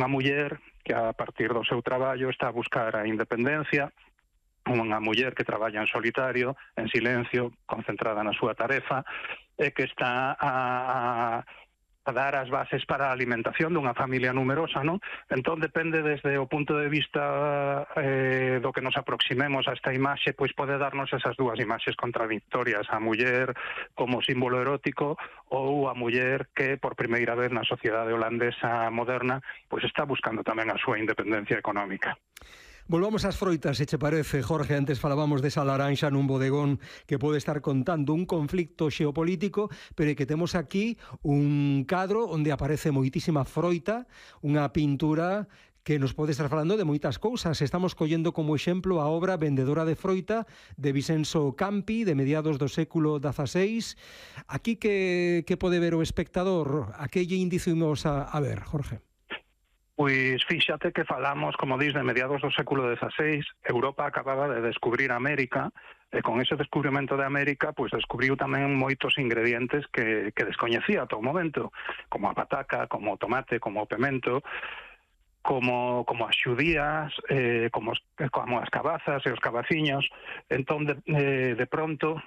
unha muller que a partir do seu traballo está a buscar a independencia, unha muller que traballa en solitario, en silencio, concentrada na súa tarefa, e que está a dar as bases para a alimentación dunha familia numerosa, non? Entón depende desde o punto de vista do que nos aproximemos a esta imaxe, pois pode darnos esas dúas imaxes contradictorias, a muller como símbolo erótico ou a muller que por primeira vez na sociedade holandesa moderna pois está buscando tamén a súa independencia económica. Volvamos ás froitas, se che parece, Jorge. Antes falábamos desa laranxa nun bodegón que pode estar contando un conflicto xeopolítico, pero que temos aquí un cadro onde aparece moitísima froita, unha pintura que nos pode estar falando de moitas cousas. Estamos collendo como exemplo a obra Vendedora de froita de Vicenzo Campi, de mediados do século XVI. Aquí que pode ver o espectador? A que lle indicimos a ver, Jorge? Pois fíxate que falamos, como dis, de mediados do século XVI. Europa acababa de descubrir América, e con ese descubrimento de América, pois descubriu tamén moitos ingredientes que descoñecía ata o momento, como a pataca, como o tomate, como o pemento, como as xudías, como as cabazas e os cabaciños. Entón, de pronto,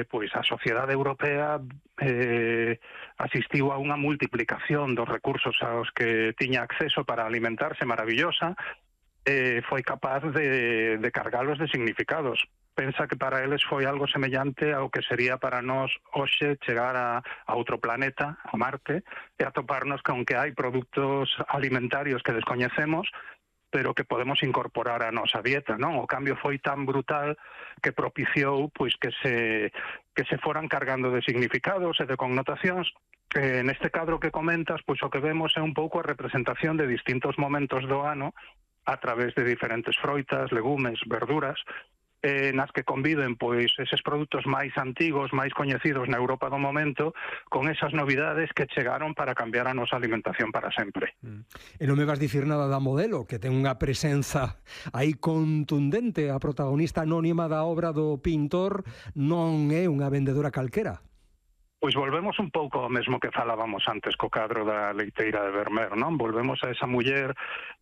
pois a sociedade europea asistiu a unha multiplicación dos recursos aos que tiña acceso para alimentarse maravillosa, foi capaz de cargalos de significados. Pensa que para eles foi algo semellante ao que sería para nós hoxe chegar a outro planeta, a Marte, e atoparnos con que hai produtos alimentarios que descoñecemos, pero que podemos incorporar a nosa dieta, non? O cambio foi tan brutal que propiciou pois que se foran cargando de significados e de connotacións. Neste cadro que comentas, pois o que vemos é un pouco a representación de distintos momentos do ano a través de diferentes froitas, legumes, verduras, nas que conviven pois eses produtos máis antigos, máis coñecidos na Europa do momento, con esas novidades que chegaron para cambiar a nosa alimentación para sempre. E non me vas dicir nada da modelo, que ten unha presenza aí contundente. A protagonista anónima da obra do pintor non é unha vendedora calquera. Pois volvemos un pouco ao mesmo que falábamos antes co cadro da leiteira de Vermeer, non? Volvemos a esa muller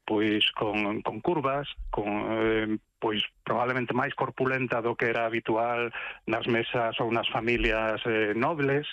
pois con curvas, pois probablemente máis corpulenta do que era habitual nas mesas ou nas familias nobles,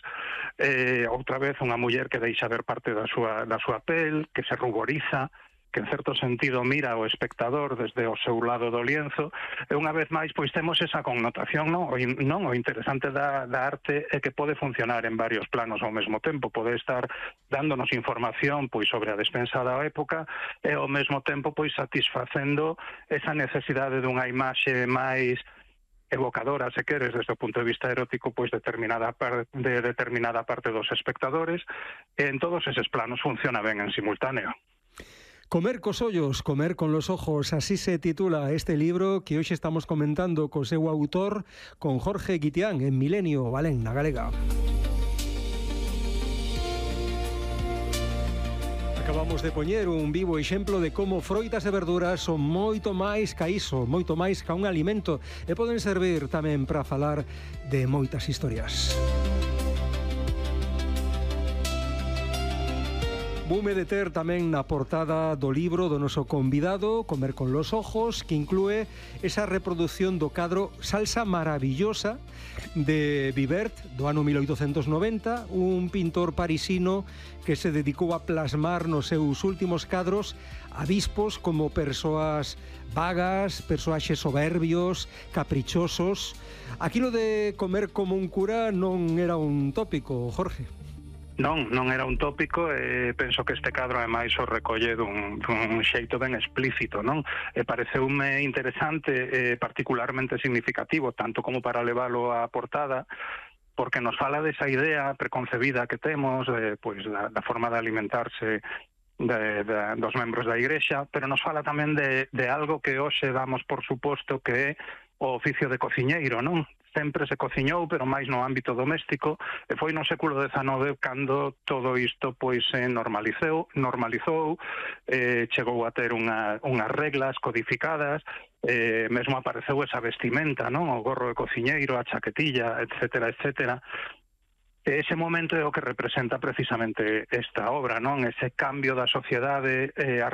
outra vez unha muller que deixa ver parte da súa pel, que se ruboriza, que en certo sentido mira ao espectador desde o seu lado do lienzo, e unha vez máis pois temos esa connotación, non? O interesante da arte é que pode funcionar en varios planos ao mesmo tempo, pode estar dándonos información pois sobre a despensa da época e ao mesmo tempo pois satisfacendo esa necesidade dunha imaxe máis evocadora, se queres, desde o punto de vista erótico, pois de determinada parte dos espectadores, e en todos eses planos funciona ben en simultáneo. Comer cos ollos, comer con los ojos, así se titula este libro que hoxe estamos comentando co seu autor, con Jorge Guitián, en Milenio, Valén, na Galega. Acabamos de poñer un vivo exemplo de como froitas e verduras son moito máis ca iso, moito máis ca un alimento, e poden servir tamén para falar de moitas historias. Voume deter tamén na portada do libro do noso convidado, Comer con los ojos, que inclúe esa reproducción do cadro Salsa Maravillosa de Vivert, do ano 1890, un pintor parisino que se dedicou a plasmar nos seus últimos cadros abispos como persoas vagas, persoaxes soberbios, caprichosos. Aquilo de comer como un cura non era un tópico, Jorge. Non era un tópico, e penso que este cadro ademais o recolle dun xeito ben explícito, non? E pareceume interesante e particularmente significativo, tanto como para leválo á portada, porque nos fala desa idea preconcebida que temos, pois da forma de alimentarse dos membros da Igrexa, pero nos fala tamén de algo que hoxe damos por suposto que é o oficio de cociñeiro, non? Sempre se cociñou, pero máis no ámbito doméstico, e foi no século XIX cando todo isto pois se normalizou, chegou a ter unhas reglas codificadas, mesmo apareceu esa vestimenta, non? O gorro de cociñeiro, a chaquetilla, etcétera, etcétera. Ese momento é o que representa precisamente esta obra, non? Ese cambio da sociedade, a